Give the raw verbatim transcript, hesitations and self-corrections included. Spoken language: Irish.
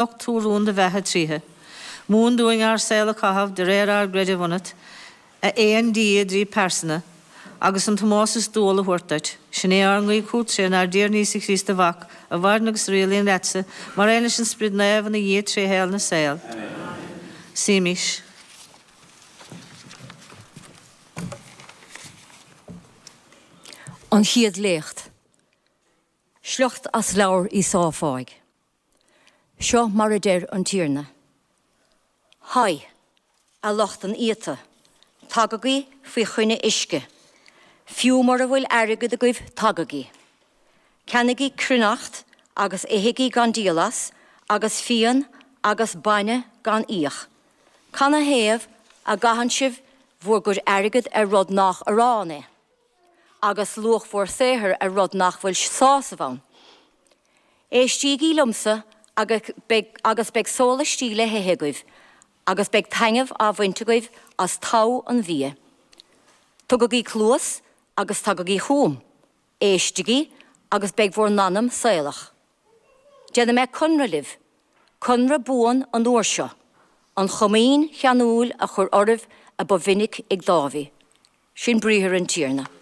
Nocht tú rún do bheatha tríothu. Múin dúinn ár saol a chaitheamh de réir ár gcreidimh ionat, a aon Dia i dtrí pearsana, agus an t-ómós is dual a thabhairt duit. Sin é ár nguí chugat trínár dTiarna Íosa Críost do Mhac, a mhaireann agus a rialaíonn leatsa, mar aon leis an Sprid Naomh ina Dhia tré shaol na saol. Suímis. An Chéad Léacht. Sliocht as Leabhar Íosáia Fáidh. Seo mar a deir an Tiarna, Haigh, a lucht an iata, tagaigí faoi choinne uisce, fiú mura bhfuil airgead agaibh tagaigí. Ceannaigí cruithneacht agus ithigí gan díol as, agus fíon agus bainne gan íoc. Canathaobh a gcaitheann sibh bhur gcuid airgid ar rud nach arán é, agus luach bhur saothair ar rud nach bhfuil sásamh ann? Éistígí liomsa agus beidh sólaistí le hithe agaibh, agus beidh taitneamh á bhaint agaibh as togha an bhia. Tugaigí cluas agus tagaigí chugam, éistigí agus beidh bhur n-anam saolach. Déanfaidh mé conradh libh, conradh buan an uair seo, an chomaoin cheanúil a chur oraibh a ba mhinic ag Dáiví. Sin briathar an Tiarna.